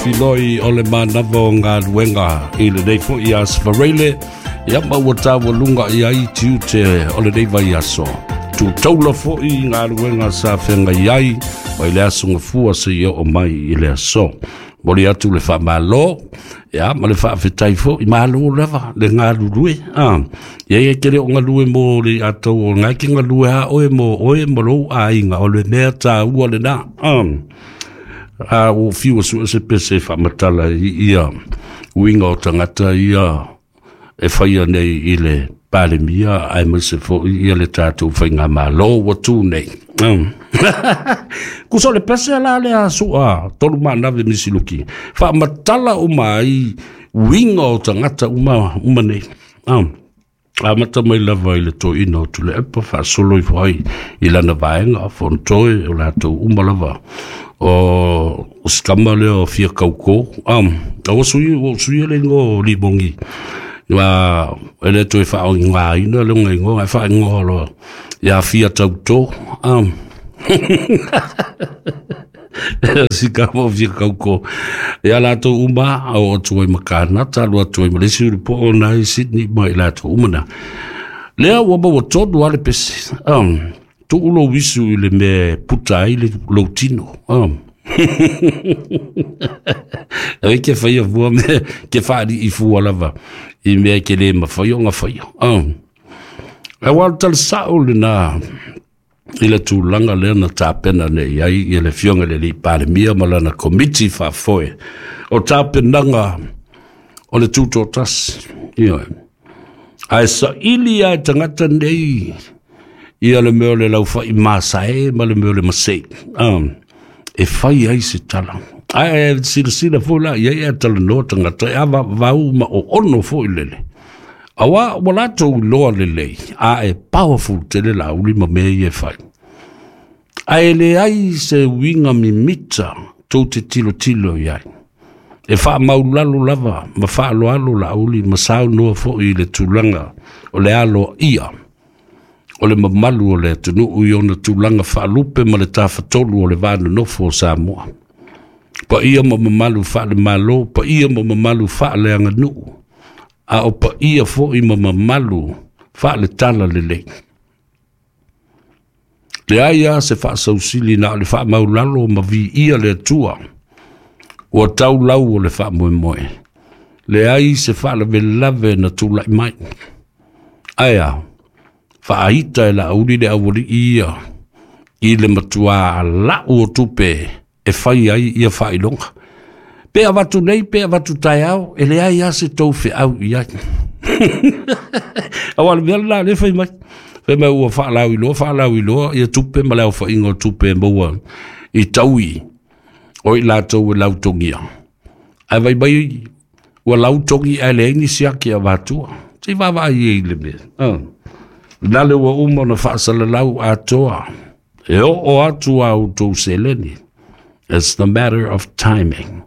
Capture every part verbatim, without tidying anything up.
Filoi o le manava o galuega i lenei fo'i aso Faraile, ia ma ua taualuga i ai tiute o lenei vaiaso. Tutaula fo'i galuega sa feagai ai mai le aso Gafua seia oo mai i le aso. Moli atu le faamalo, ia ma le faafetai fo'i, malo lava le galulue. Ah, ia ia ke le o galue mo le atou o ngai ke galue a oe mo oe mo lou aiga o le mea taua lena. Ah, a o fiu su se pese faamatala i ia uiga o tagata ia e faia nei i le Palemia aemaise fo'i ia le tatou faigamalo ua tu nei. Kusa o le pese la lea su'a tolu manave misiluki faamatala uma ai uiga o tagata uma uma nei. Amata mai lava i le toeaina o Tuilaepa faasolo ifo ai i lana vaega Fonotoe o latou uma lava o o sikama lea o fia kaukō. Ua sui ua suia le igoa o Limogi ua e le toe faaaogaina le igoa ae faaigoa loa ia fia tautō. Sikama o fia kaukō ia latou uma o atu ai ma Kanata alu atu ai ma le isi ulupo'o na i Sydney ma i latou uma na lea ua maua tonu a le pese. Tuu lou isu i le mea e puta ai le lou tino. Ai ke faia fua mea ke faali'i fua lava i mea ke lē mafai ona faia. Aua o le talasa'o lenā i le tulaga lea na tapena nei ai ia le afioga i le alii Palemia ma lana komiti faafoe o tapenaga o le tutoatasi. Ioe, ae saili a e tagata nei ia le mea o le laufai masae ma le mea o le masei e fai ai se tala. Ae silasila foi la i ai ae talanoa tagata e avavau ma oono foi lele. Auā ua latou iloa lelei a e powerful tele Laauli ma mea ia e fai. Ae leai se uiga mimita tou te tilotilo i ai. E faamaulalo lava ma faaloalo Laauli ma saunoa fo'i i le tulaga o le aloaia o le mamalu o le atunuu i ona tulaga faalupe ma le tafatolu o le va nonofo o Samoa. Paia ma mamalu faale-Malo, paia ma mamalu faaleaganuu, a o paia fo'i ma mamalu faaletala lelei. Leai a se faasausili na o le faamaulalo ma viia le Atua ua tau lau o le faamoemoe. Leai se faalavelave na tula'i mai. Ae a faaita e Laauli le aualii ia i le matuā la'u o tupe e fai ai ia faailoga. Pe avatu nei pe avatu taeao, e leai a se tou feau i ai. Auā le mea lenā lea fai mai. Fai mai ua faalauiloa faalauiloa ia tupe ma le aofaiga o tupe e maua i taui o i latou e lautogia. Ae vai mai ua lautogi ae leai nisi ake avatua. Se i vaavaai ai i le mea. Na le ua uma ona faasalalau atoa e oo atu a outou seleni. It's the matter of timing.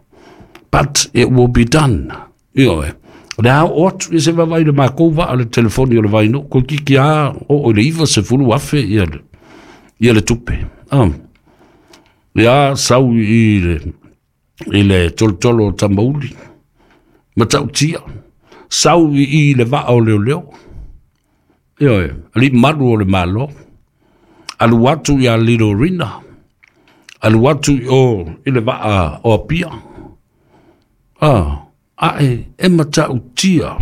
But it will be done. Ioe. O le a oo atu ia se vaavaai i le makou vaa o le telefoni o le Vainuu toeitiiti a oo i le iva sefulu afe ia le, ia le tupe. Ah. Ia sau i le, i le tolotolo o Tamauli, Matautia, sau i i le vaa o leoleo. Ioe, alii malu o le Malo, alu atu ia Lilo Rina, alu atu i o i le vaa o Apia. Ah, ae e matautia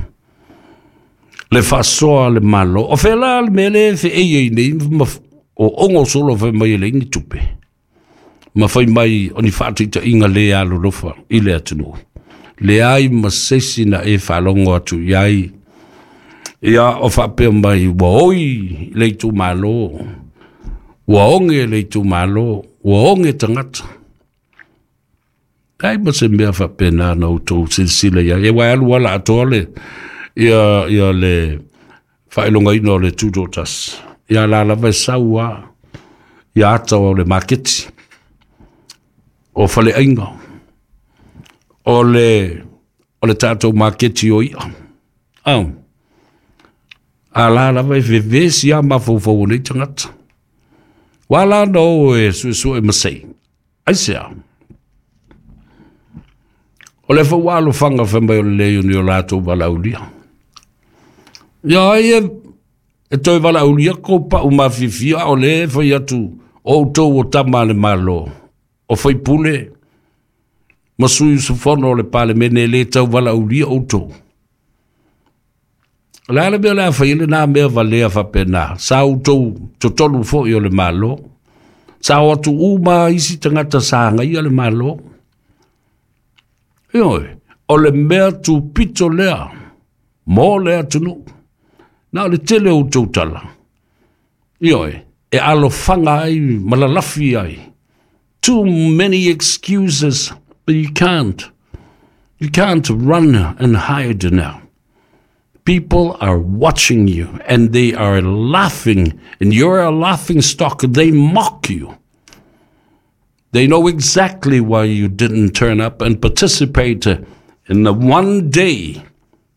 le faasoa a le Malo. O fea la le mea lea e feei ai nei ma o ogo solo fai mai e leai ni tupe ma fai mai o ni faataitaiga le alolofa i le atunuu. Leai ma se isi na e faalogo atu i ai ia o faapea mai ua oi le itumalo, ua oge le itumalo, ua oge tagata. Ai ma se mea faapena na outou silasila i ai. E ua alu ala atoa le ia, ia le faailogaina o le tutoatasi. Ia la lava e sau a ia ata o le maketi, o faleaiga, o le, o le tatou maketi o ia. Ah. A la lava e vevesi a mafaufau o nei tagata. Ua la na o e suesue masei. Aisea? O le fau alofaga fai mai o le leai o ni o latou valaaulia. Ia ai e, e toe valaaulia kou pau mafiafia, a o lea e fai atu o outou o tama a le Malo, o faipule ma sui usufono o le Palemene, e lē tau valaaulia outou. O le a le mea o le a fai ai lenā mea valea faapena? Sa outou totonu foi o le Malo, sa o atu uma isi tagata sa agaia le Malo. Ioe, o le mea tupito lea mo le atunuu. Na o le tele o outou tala, ioe, e alofaga ai ma lalafi ai. Too many excuses, but you can't. You can't run and hide now. People are watching you and they are laughing, and you're a laughing stock. They mock you. They know exactly why you didn't turn up and participate in the one day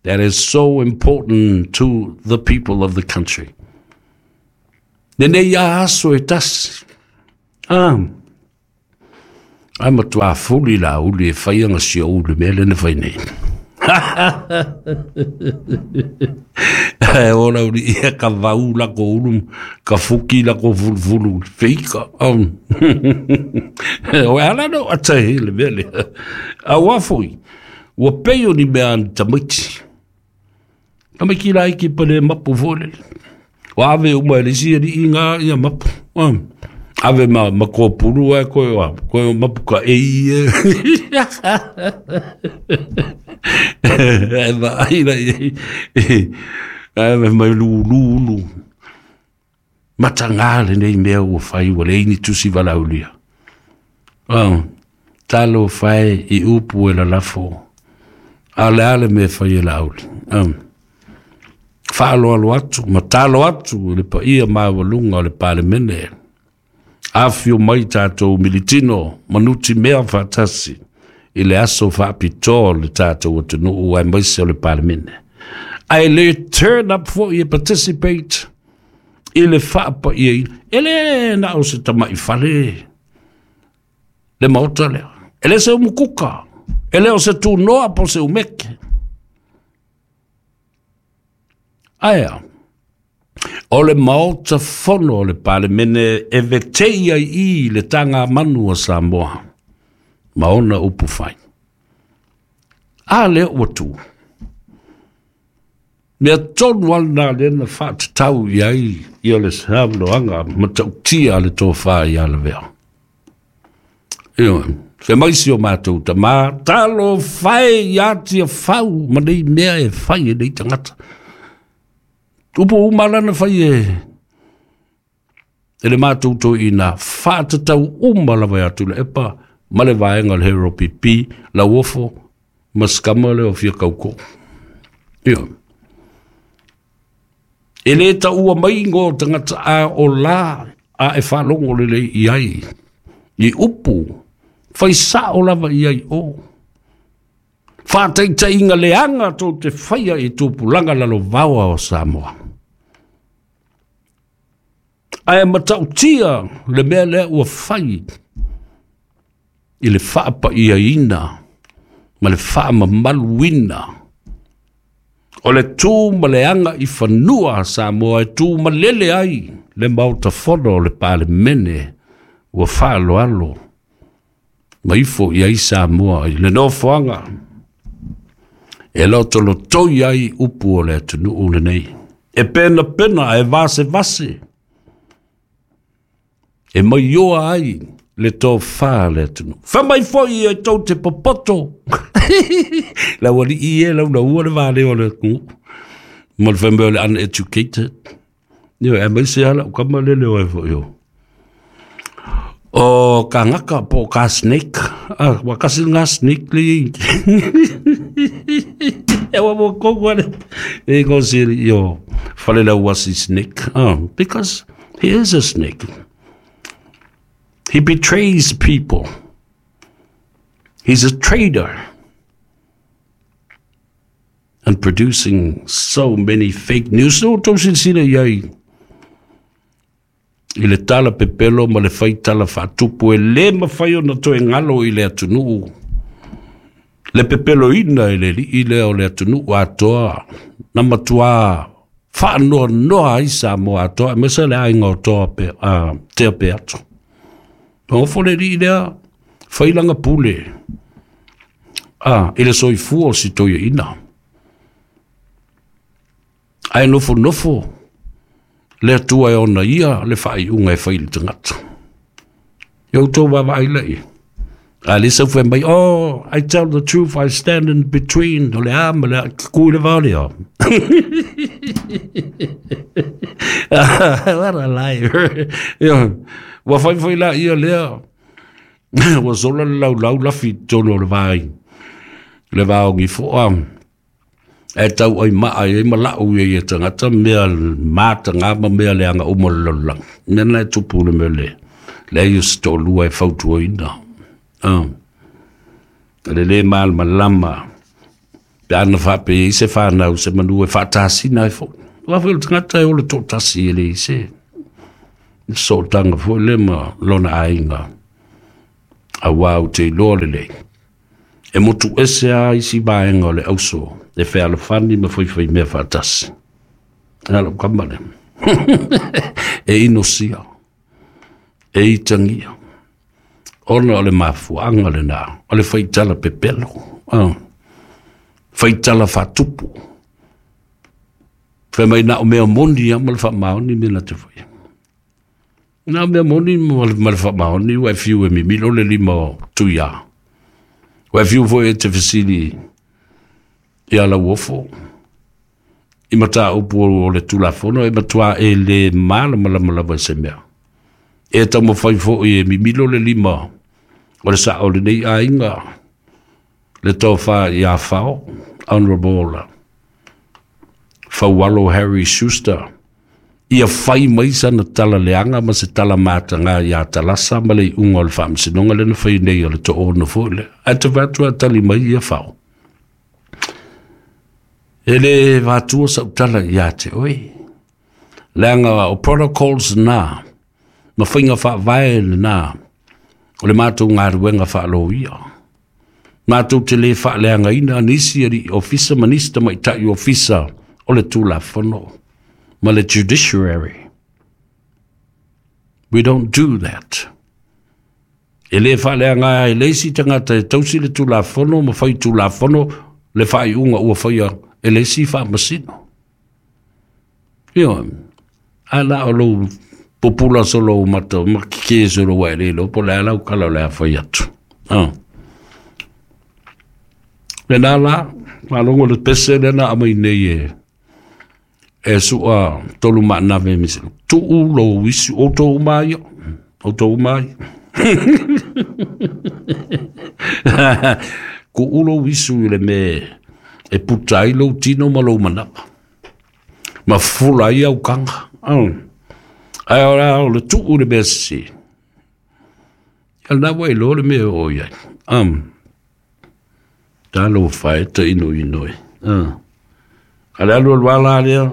that is so important to the people of the country. Lenei ia aso e tasi. Ah, ai matuā fuli la uli e whai anga si o ulu mea lena whai nei. E ora uri ia ka vau la ko ulu, ka fuki la ko fulufulu, feika. Um. O ala no ata he le mea lea. A ua foi, ua pei o ni mea ani tamaiti. Tamaiti la iki pa le mapu fo lele. Ua ave uma e le isi ali i ngā ia mapu. Um. Ave ma, ma kōpuru ai koe wa, koe mapu ka ei e. E va ai la i, ave mai lulu. Matangā lenei mea ua whai, ua leini tusi valaulia. Oh, talo whai i upu e la lafo. A le ale me whai e la auli. Um. Whaaloalo atu, ma talo atu, le pa ia maawalunga o le Palemene. Afio mai tātou militino, manuti mea whaatasi, i le aso whaapitoa le tātou atunuu ai maise o le Palemene. Ai le turn up for you participate i le whaapa ia i. E le na o se tamai whale le maota lea. E le se umukuka. E le o se tūnoa po se umeke. Aia. O le maota fono o le Palemene e vetei ai i le tanga manu o Samoa. Ma ona upu whai. A lea ua tū. Mea tonu alna lena whaatatau i ai i o le saunoaga matautia le tōwhā i a le vea. Ioe, fe mai si o mātou tamā, talo whai i atia whau ma nei mea e whai e nei tangata. Upu umalana whai e e le mātou tō ina whaatatau uma lawa atu le epa ma le vaenga le hero P P, la uofo, maskama le o fia kauko. Ioe. E le ta ua mai ngō tangata a o la a e whalongo le le i ai. I upu, whai sa o lava i ai o. Whāteita inga leanga tō te whaia i tūpulanga lalo vaoa o Samoa. Ae matautia le mea lea ua whai i le whaapa ia ina ma le whaamamaluina. O le tū ma le anga i whanua Samoa e tū malele ai le maota fono o le Palemene ua whaaloalo. Maifo i ai Samoa i le nofoanga. E loto lotoi ai upu o le atunuu lenei. E pena pena e vase vase. E maioa ai le tō whā le atunuu. Whamai foi e tau te popoto. La wali i e lau na ua le vāle o le atunuu. Ma le whamai o le uneducated. Io, e mai se ala o kama lele o e foi o. O ka ngaka po ka snake. Ah, wa kasi ngā snake le i. E wa mo kongo ale. E ngō siri io whale lau wasi snake. Ah, because he is a snake. He betrays people. He's a traitor. And producing so many fake news. No, tau sinsina iai. I le tala pepelo ma le whai tala whaatupu e le mawhai o na toe ngalo i le atunuu. Le pepeloina e le alii lea o le atunuu atoa na matuā faanoanoa ai Samoa atoa aemaise le aiga o Toa pe, uh, Tea Peato. Nofo le alii lea fai lana pule ah, i le soifua o si toeaina. Ae nofonofo le Atua e ona ia le faaiuga e fai i le tagata. Ia outou vaavaai laia. A le sau fai mai, oh, I tell the truth, I stand in between. O le a ma le a, ku i le vao lea. What a liar. Ia, ua fai foi la ia lea. Ua sola le laulau lafi i totonu o le vai. Le vao gifoa. E tau ai maa ai ma lau ia ia tagata mea mataga ma mea leaga uma o le lalolagi. Mea na e tupu le mea le. Leai o se toalua e fautuaina. Ah. Le lē malamalama pe ana faapea i se fanau se manu e faatasina ai foʻi. Aua foi o le tagata e ola toʻatasi e leai se sootaga foi le ma lona aiga. Auā ou te iloa lelei e motu ese a isi vaega o le auso e fealofani ma faifai mea faatasi. A lou kama lea. E inosia, e itagia, ona o le mafuaaga lenā o le faitala pepelo, ah, faitala faatupu. Fai mai na o mea moni lava ma le faamaoni mea na te faia. Na o mea moni ma le faamaoni ua e fiu e mimilo le lima o Tuiā. Ua e fiu foi e te fesili ia Lauofo i mataupu o le Tulafono e matuā e lē malamalama lava i se mea. E taumafai foi e mimilo le lima o le sao o lenei aiga le tofa ia Fao, Honourable Faualo Harry Schuster, ia fai mai sana tala leaga ma se tala mataga iā Talasa ma le iuga o le faamasinoga lea na fai nei o le toono foi lea. Ae te vaai atu a tali mai ia Fao. E lē vatua sau tala iā te oe. Leaga o protocols na, ma faiga faavae lenā, o le matou galuega faaloia. Matou te lē faaleagaina nisi alii ofisa ma nisi tamaitai ofisa o le Tulafono ma le judiciary. We don't do that. E lē faaleaga e le isi tagata e tausi le Tulafono ma fai Tulafono le faaiuga ua faia e le isi faamasino. Ioe, ae la o lou pupula solo mata ma keke solo ua e le iloa po o le a lau kala o le a fai atu. Ah. Lena la, faalogo le pese lea na aumai nei e e sua tolu maanave me se tuu lou isu outou uma ai, outou uma ai. Kuu lou isu i le mea e puta ai lou tino ma lou manava. Ma fula ai au kanga. Ae o le tuu le mea sese. Ia lena ua iloa le mea o i ai. Um. Talofa e ta ino ino e. Uh. A le alu alu ala lea,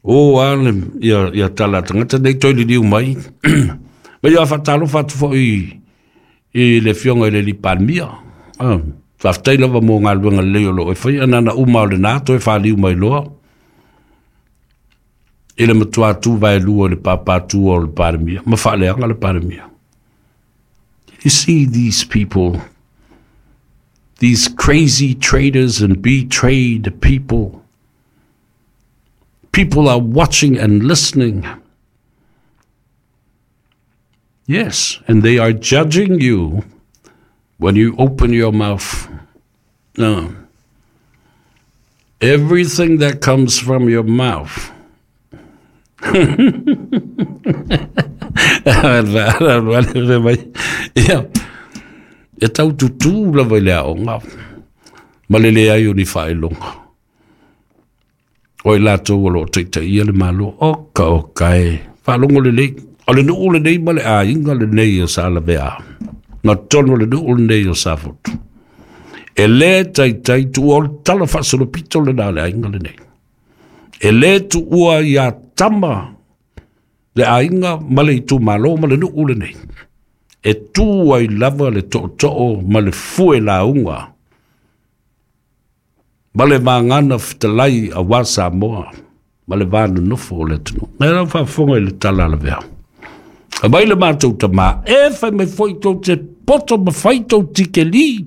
o a le, ia, ia tala tagata nei toe liliu mai. Ma ia faatalofa atu foi i le afioga i le alii Palemia. Uh. Faafetai lava mo galuega lelei o loo e faia nana uma o lenā toe faliu mai loa i le matuā tu vaelua i le pāpātua o le Palemia ma faaleaga le Palemia. You see these people, these crazy traders and betrayed people. People are watching and listening. Yes, and they are judging you when you open your mouth. No. Everything that comes from your mouth. Ia, e tau tutū lava i le aoga ma le leai o ni faailoga. O i latou o loo taitaia le Malo, oka oka e, faalogo lelei. O le nuu lenei ma le aiga lenei o Salavea, na tonu le nuu lenei o Safotu. E lē taitai tuua o le tala faasolopito lenā o le aiga lenei. E lē tuua iā tama le aiga ma le itumalo ma le nuu lenei. E tu ai lava le tootoo ma le fue lauga Ma le vagana fetalai auā Samoa ma le va nonofo o le atunuu. Nai lau faafofoga i le tala a lavea. Aumai le matou tamā, e fai mai foi tou te poto ma fai tou tikeli.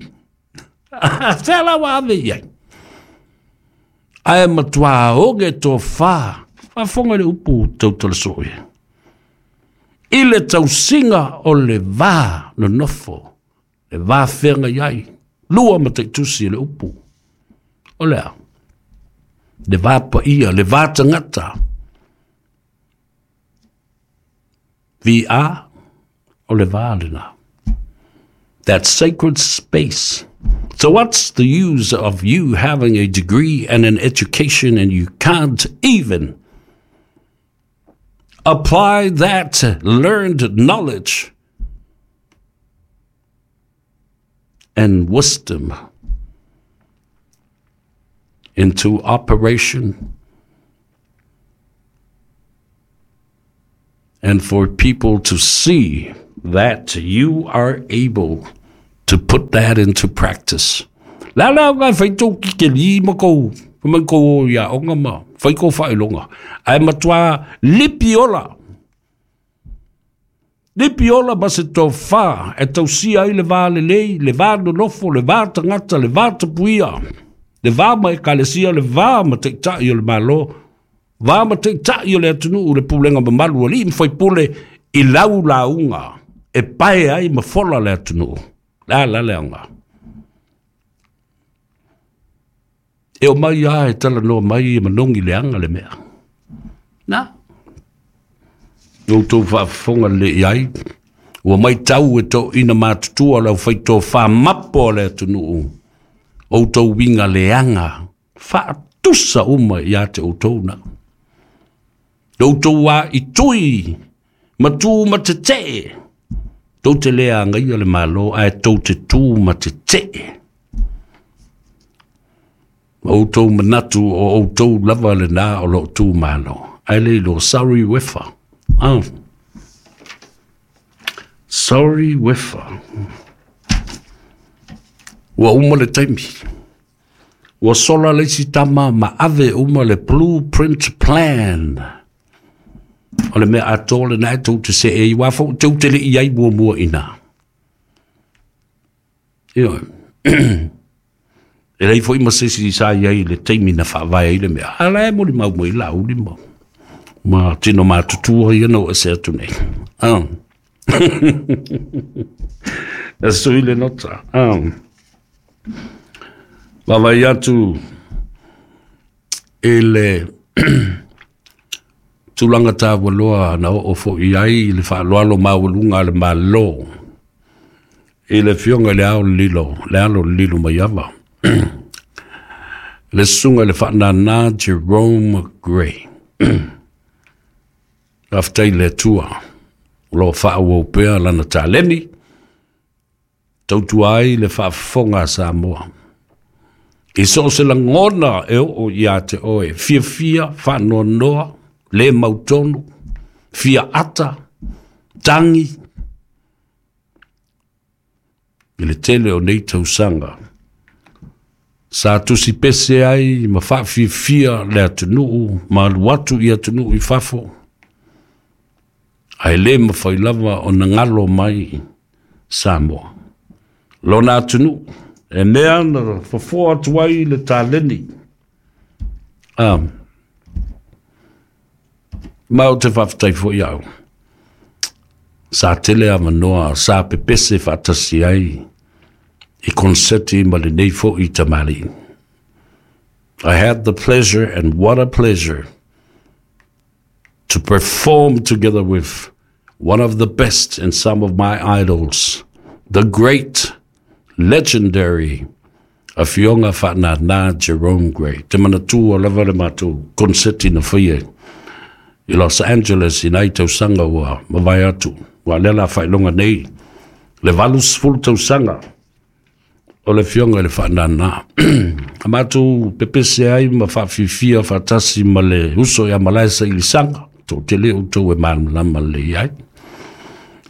Fea la ua ave i ai? Ae matuā oge tofā. Faafofoga i le upu tautala soo e. I le tausiga o le va nonofo, le va feagai ai, lua mataitusi le upu. O lea, le va paia, le va tagata. V A, o le va lena. That sacred space. So what's the use of you having a degree and an education and you can't even apply that learned knowledge and wisdom into operation and for people to see that you are able to put that into practice? La la ngai fai tou kikeli ma kou, ma kou ia onga ma, fai kou faailoga. Ae matuā lipi ola. Lipi ola ma se tofā e tausia ai le va lelei, le va nonofo, le va tagata, le va tapuia, le va ma ekalesia, le va ma taitai o le Malo, va ma taitai o le atunuu, le pulega mamalu a alii ma faipule i lau lauga e pae ai ma fola le atunuu. La la le aoga. E o mai a e talanoa mai e manogi leaga le mea. Na. Outou faafofoga lelei ai. Ua maitau e toeaiina matutua le aufaitofā mapo a le atunuu. Outou uiga leaga faatusa uma ia te outou na. Outou a i tui ma tu ma tetee. Tou te le agaia le Malo ae tou te tu ma tetee. Ma outou manatu o outou lava lenā o loo tu malo. Ae le iloa, sorry wefa. Ah. Sorry wefa. Ua uma le taimi. Ua sola le isi tama ma ave uma le blueprint plan. O le mea atoa lenā e tou te seei uā foʻi tou te leʻi ai muamua ina. Ioe. E leai foi ma se isi sa i ai i le taimi na faavae ai le mea. A la e molimau mai Laauli ma ma tino matutua ia na o ese atu nei. Ah. E sui le nota. Ah. Vaavaai atu i le tulaga taualoa na oo foʻi ai le faaaloalo maualuga a le Malo i le Afioga i le Ao Lilo, le Alo Lilo Maiava, le Susuga i le Faananā Jerome Gray. Faafetai i le Atua o loo faaauau pea lana taleni tautua ai le faafofoga a Samoa. I so o se lagona e oo ia te oe, fiafia, faanoanoa, le mautonu, fia ata, tagi, i le tele o nei tausaga. Sa tusi pese ai ma faafiafia le atunuu, ma alu atu i atunuu i fafo. Ae le mafai lava ona galo mai Samoa. Lona atunuu, e mea na fofoa atu ai le taleni. Ah, ma ou te faafetai foʻi au. Sa tele avanoa, sa pepese faatasi ai i konseti ma lenei foʻi tamalii. I had the pleasure, and what a pleasure, to perform together with one of the best and some of my idols, the great, legendary Afioga Faananā Jerome Gray. Te manatua lava le matou konseti na faia i Los Angeles i nai tausaga ua mavae atu. Ua lea la faailoga nei le valusefulu tausaga o le Afioga i le Faananā. A matou pepese ai ma faafiafia faatasi ma le uso ia Malae Sailisaga, toatele outou e malamalama lelei ai.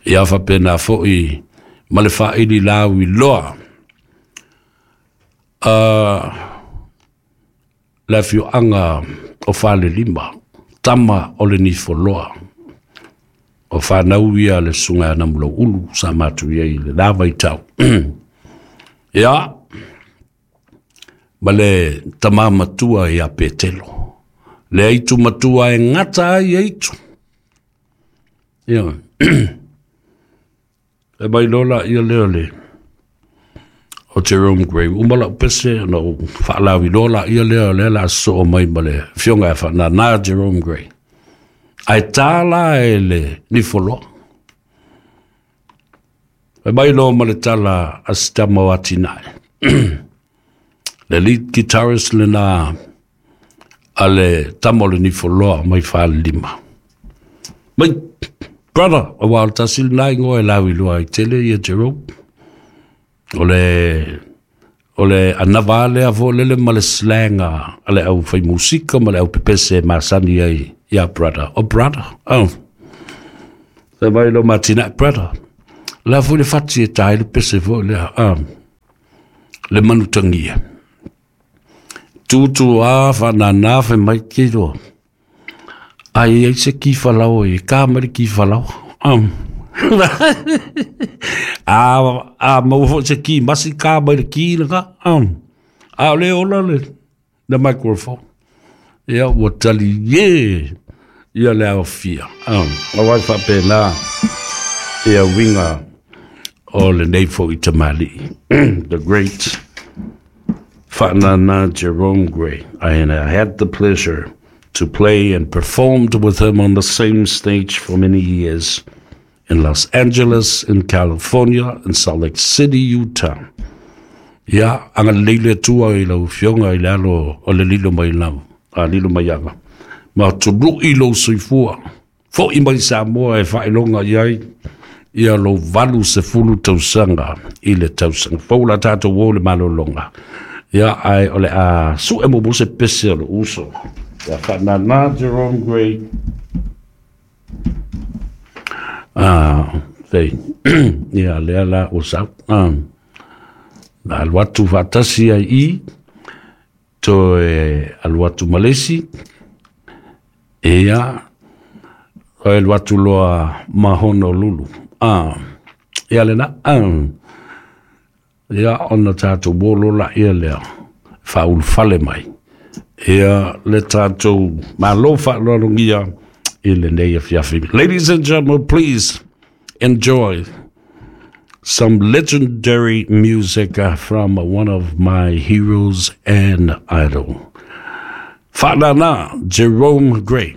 Ia faapena foʻi ma le faaili lauiloa. Uh, Le afioaga o Falelima, tama o le Nifoloa. O fanau ia le susuga ia Namulauulu sa matou i ai i lena vaitau. Ia, ma le tama matua ia Petelo. Le aitu matua e gata ai aitu. Ia, e mai loa laia lea le o Jerome Gray. Uma lau pese ona ou faalauiloa laia lea o lea o le a sosoo mai ma le afioga ia Faanana Jerome Gray. Ae ta la e le nifoloa. Fai mai loa ma le tala a si tama o Atinae. Le lead guitarist lena a le tama o le nifoloa mai Falelima. Mai, brother, aua o le tasi lena igoa e lauiloa ai tele ia Jerome. O le o le anava lea foi lele ma le slang a le au fai musika ma le au pepese masani ai ia brother. O brother, oh. Fai mai lo Matina, brother. La foi le fati e tai le pese foi lea. Ah. Le manutangia. Tutu a whanana whai mai ke roa. Ai ai se ki whalau e ka mai ki whalau. Um. a, a mau fo se ki masi ka mai le ki langa. Um. A le ola le, le microphone. Ia ua tali ye ia le aofia. Um. A wai whapena ia winga o le nei fo i tamali. The great Faanana Jerome Gray. And I had the pleasure to play and performed with him on the same stage for many years in Los Angeles, in California, in Salt Lake City, Utah. Ia, agalelei le Atua i lau afioga i le alo o le lilo mai lau, a lilo mai aga. Ma tului lou soifua, fo'i mai Samoa e faailoga i ai ia lou valu sefulu tausaga i le tausaga fou la tatou o le malologa. Ia, ae o le a su'e muamua se pese o le uso. Ia Faanana Jerome Gray. Ah, fei. Ia, lea la ua sau. Ah, na alu atu faatasi ai i, toe alu atu ma le isi. Ia, toe alu atu loa ma Honolulu. Ah, ia lena. Ah, ia ona tatou o loa laia lea, faaulufale mai. Ia le tatou Malo faaaloalogia i lenei afiafi. Ladies and gentlemen, please enjoy some legendary music from one of my heroes and idol. Faanana Jerome Gray.